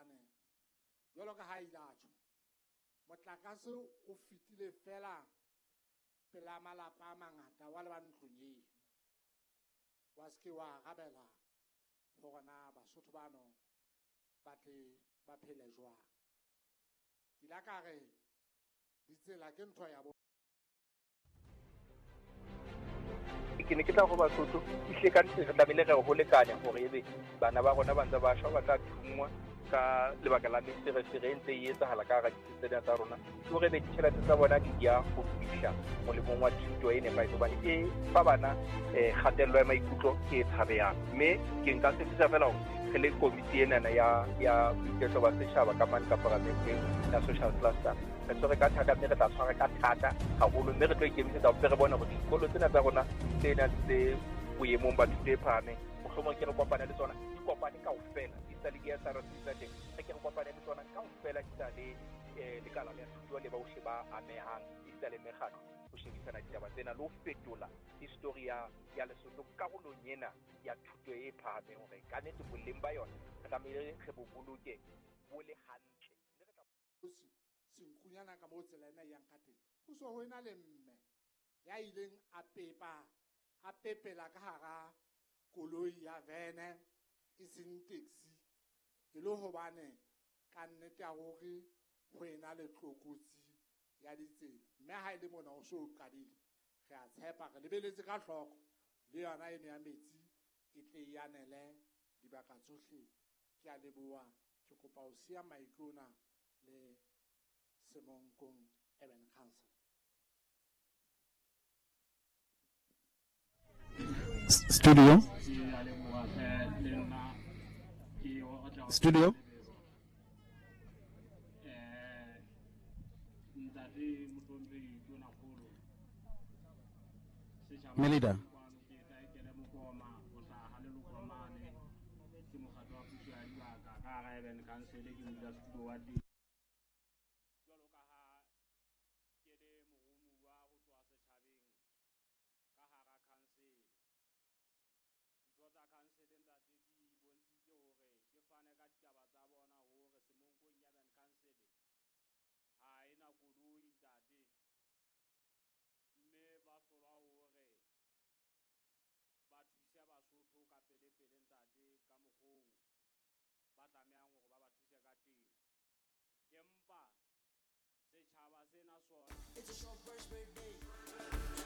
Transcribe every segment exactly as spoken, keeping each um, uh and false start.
Hobane jwalo ka ha ile a tjho, motlakase o fetile fela pela malapa a mangata wa leba ntlong eno. Wa se ke wa arabela hore na Basotho bano ba tle ba phele jwang. Ke ile ka re ditsela ke ntho ya bo. Ke ne ke tla ho Basotho ehlile ka nnete re tlamehile re ho lekane hore ebe bana ba rona ba ntse ba shwa, ba tla thungwa ka lebaka la meferefere e ntse e etsahala ka hara ditsi tsena tsa rona. Ke hore ebe ditjhelete tsa bona di ya ho fihla molemong wa thuto e nepahetseng, hobane e fa bana eh, kgatello ya maikutlo e tshabehang. Mme ke nka tshepisa fela hore re le komiti enana ya, ya boiketlo ba setjhaba ka mane ka paramenteng ya social cluster, re tshwere ka thata mme re tla tshwara ka thata haholo, mme re tlo ikemisetsa hore re bone hore dikolo tsena tsa rona tse nang tse boemong ba thuto e phahameng, mohlomong ke re kopane le tsona, di kopane kaofela, di sa le di S R C tsa teng, re ke re kopane le tsona kaofela, di sa le, eh, lekala la thuto le bohle ba amehang, di sa le mekgatlo ho shebisana ditaba tsena le ho fetola history ya, ya Lesotho karolong ena ya thuto e phahameng, hore ka nnete boleng ba yona re tlamehile re bo boloke bo le hantle. Mme re tla Senkunyana ka moo tsela ena e yang ka teng, ho so ho ena le mme ya ileng a pepa, a pepela ka hara koloi ya vene e seng taxi, e le hobane ka nnete ya hore ho ena le tlokotsi ya ditsela. Mme ha e le mona o so qadile, re a tshepa, re lebeletse ka hloko le yona eno ya metsi e tle e anele dibaka tsohle. Ke a leboha, ke kopa ho siya maikutlo ona le Semonkong Urban Council. Studio. Studio. Melida. Council ntate di bontshitse hore ke fane ka ditaba tsa bona hore Semonkong Urban Council ha ena koloi ntate, mme ba hlolwa hore ba thuse Basotho ka pele pele ntate ka mokgoo ba tlamehang hore ba ba thuse ka teng. Empa setjhaba sena sona. It's a ShopRite's birthday.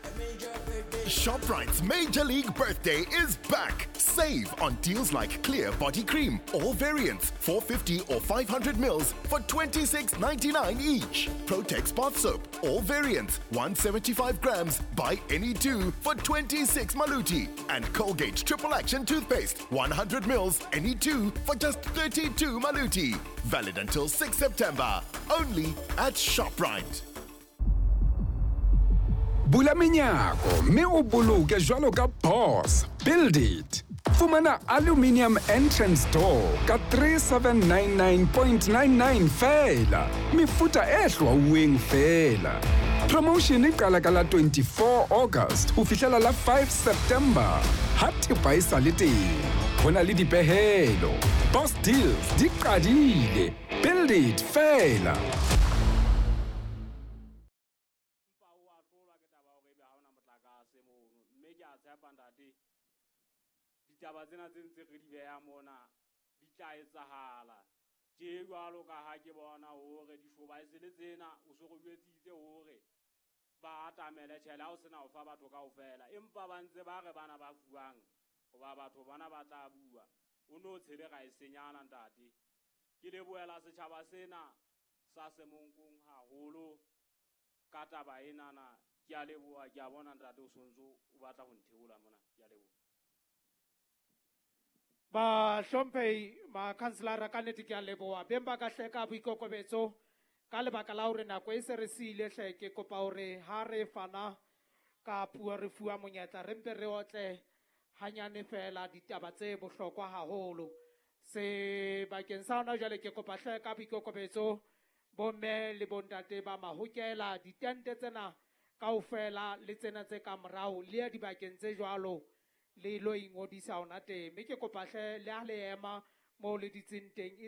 A major birthday. ShopRite's Major League Birthday is back. Save on deals like Clear Body Cream, all variants, four fifty or five hundred mils for twenty-six ninety-nine each. Protex Bath Soap, all variants, one seventy-five grams, buy any two for twenty-six maluti. And Colgate Triple Action Toothpaste, one hundred mils, any two for just thirty-two maluti. Valid until sixth September, only at ShopRite. Bula menyako mme o boloke jwalo ka boss. Build it. Fumana aluminium entrance door ka three seven nine nine point nine nine feela. Mefuta e hlwauweng feela. Promotion e qala ka la twenty-four August ho fihlela la five September. Ha thepa e sa le teng, ho na le dipehelo. Boss deals di qadile. Build it feela. Mme ke a tshepa ntate, ditaba tsena tse ntse re di beha mona di tla etsahala. Tje jwalo ka ha ke bona hore dishobaesele tsena o so re jwetsitse hore ba atamele tjhele, ha o sena ho fa batho kaofela, empa ba ntse ba re bana ba fuwang hoba batho bana ba tla bua. O no tshele ra e senyana ntate. Ke lebohela setjhaba sena sa Semonkong haholo ka taba enana. Ke a leboha, ke a bona ntate o sontso o batla ho ntheola mona. Ke a leboha. Bahlomphehi makhanselara, ka nnete ke a leboha. Beng ba ka hle ka boikokobetso ka lebaka la hore nako e se re siile hle, ke kopa hore ha re fana ka puo re fuwa monyetla re mpe re otle hanyane fela ditaba tse bohlokwa haholo. Sebakeng sa hona jwale ke kopa hle ka boikokobetso bomme le bontate ba mahokela ditente tsena kaofela le tsena tse ka morao le ya dibakeng tse jwalo le lo ingodisa hona teng. Mme ke kopa hle le ha le ema moo le dutseng teng.